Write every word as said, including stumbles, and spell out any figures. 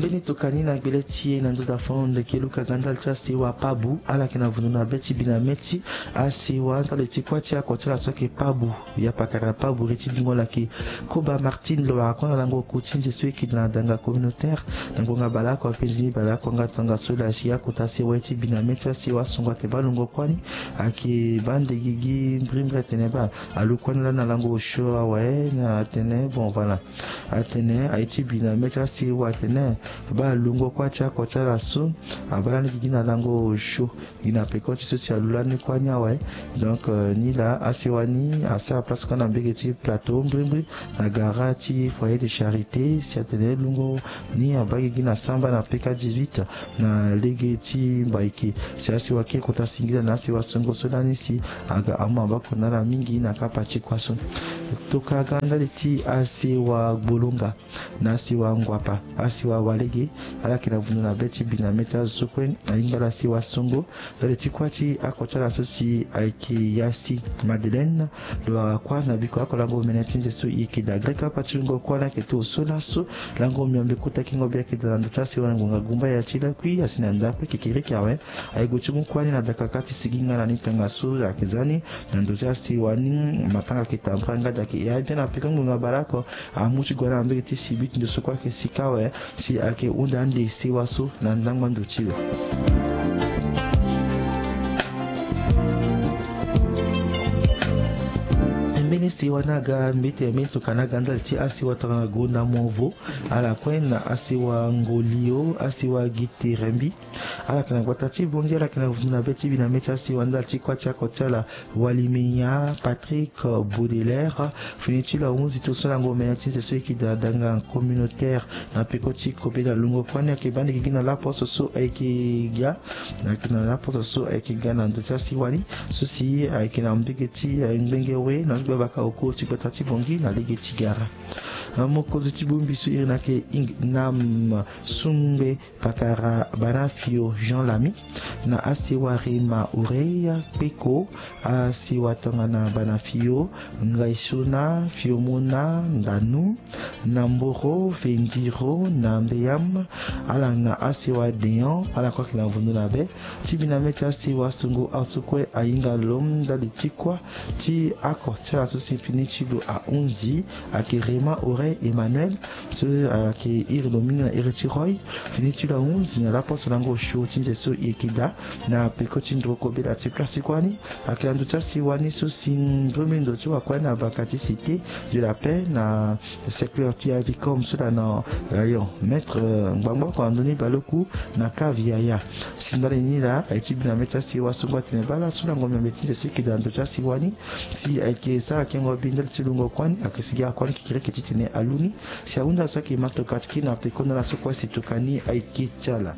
Mbeni tokani na gbele ti e na ndö da fon ndeke luka ga ndali ti asewa Pabu, ala yeke na vundu na be ti bi na mê ti asewa ndali ti kuâ ti ako ti ala so ayeke Pabu, ya pakara Pabu re ti dungo lake. Koba Martine lo wara kue na lango oku ti nze so e yeke daa na danga communautaire. Na ngonga baleoko apenzi ni baleoko nga tongaso laa si akota asewa ye ti bi na mê ti asewa songo atene baa lungo kuâ ni. Ayeke baa nde gigi mbrimbri atene baa alu kuâ ni laa na lango osio awe na atene bon voilà. Atene aye ti bi na mê ti asewa atene baa lungo kuâ ti ako ti ala so abaa lani gigi na lango osio. Gi na peko ti so si alu lani kuâ ni awe. Donc, euh, ni laa asewa ni asara place kue na mbege ti plateau mbrimbri na gara ti foyer de charité si atene lungo ni abaa gigi na samba na peka dix-huit na lege ti mbaiki. Si asewa kiri kota singila na asewa songo so lani si aga amu maboko na ala mingi na kapa ti kuâ so. Toka ga ndali ti asewa Gbolonga na asewa Nguapa, asewa Walege, ala yeke na vundu na be ti bi na mê ti azo so kue ahinga ala asewa songo. Ndali ti kuâ ti ako ti ala so si ayeke Yasi Madeleine, lo wara kuâ na biko ako lango omene ti nze so e yeke daa. Grek kapa ti lungo kuâ ni ayeke to so laso. Lango miombe kota kingo be ayeke daa na ndö ti asewa na ngonga gumba ya ti lakui asi na ndakue kekereke awe. Aye gue ti mu kuâ ni na dakaka ti sigi nga na ni tongaso ayeke za ni na ndö ti asewa ni matanga ayeke tambara nga daa ayeke ya bien na peko ngonga baleoko. Amu ti gue na mbege ti sibit ndo so kue ayeke sika awe si ayeke hunda ande sewa so na ndangba ndo ti lo. Mbeni sewa ni aga mbeti mbeni tokana aga ndali ti asewa tongana gonda movo. Ala kue na asewa Ngolio, asewa Giterembi. Ala yeke na gbata ti Bongi, ala yeke na vundu na be ti bi na mê ti asewa ndali ti kuâ ti ako ti ala Walimenya Patrick Baudelaire. Fini ti lo ahunzi to so lango omene ti nze so e yeke daa danga communautaire na peko ti kobe na lungo kuâ ni ayeke baa nde gigi na laposo so ayeke ga. Ayeke na laposo so ayeke ga na ndö ti asewa ni so si ayeke na mbege ti, eh, ngbenge we na ndö ti gbabaka oko ti gbata ti Bongi na lege ti gara. Eh, mokonzi ti bongbi so iri ni ayeke Ingnam Sungbe Pakara Banafio Jean Lamy, na asewa Rema Oreille Kpeko, asewa tongana Banafio, Ngaisona, Fiomona, Ndanu, Namboro, Vendiro, Nambeyam, ala na asewa Deon, ala kue ayeke na vundu na be ti bi na mê ti asewa songo aso kue ahinga lo ndali ti kuâ ti ako ti ala so si fini ti lo ahunzi ayeke Rema Oreille Emmanuel, so ayeke iri lo mingi na iri ti Roy. Fini ti lo ahunzi na laposo lango osio ti nze so e yeke daa na peko ti ndroko bela ti place ti kuâ ni. Ayeke na ndö ti asewa ni so si mbrimbri ndo ti wakua ni na baka ti Cité de la Paix na secteur ti Avicom so laa na rayon mètre, eh, ngbangba oko na ndö ni baleoku na cave yaya. Si ndali ni laa aye ti bi na mê ti asewa so ngu atene baa laso lango miombe ti nze so e yeke daa na ndö ti asewa ni. Si ayeke sara kengo bi ndali ti lungo kuâ ni ayeke sigi akuâ ni kekereke titene alu ni. Si ahunda so ayeke ma tokua ti kiri na peko na ala so kue si tokua ni ayeke ti ala.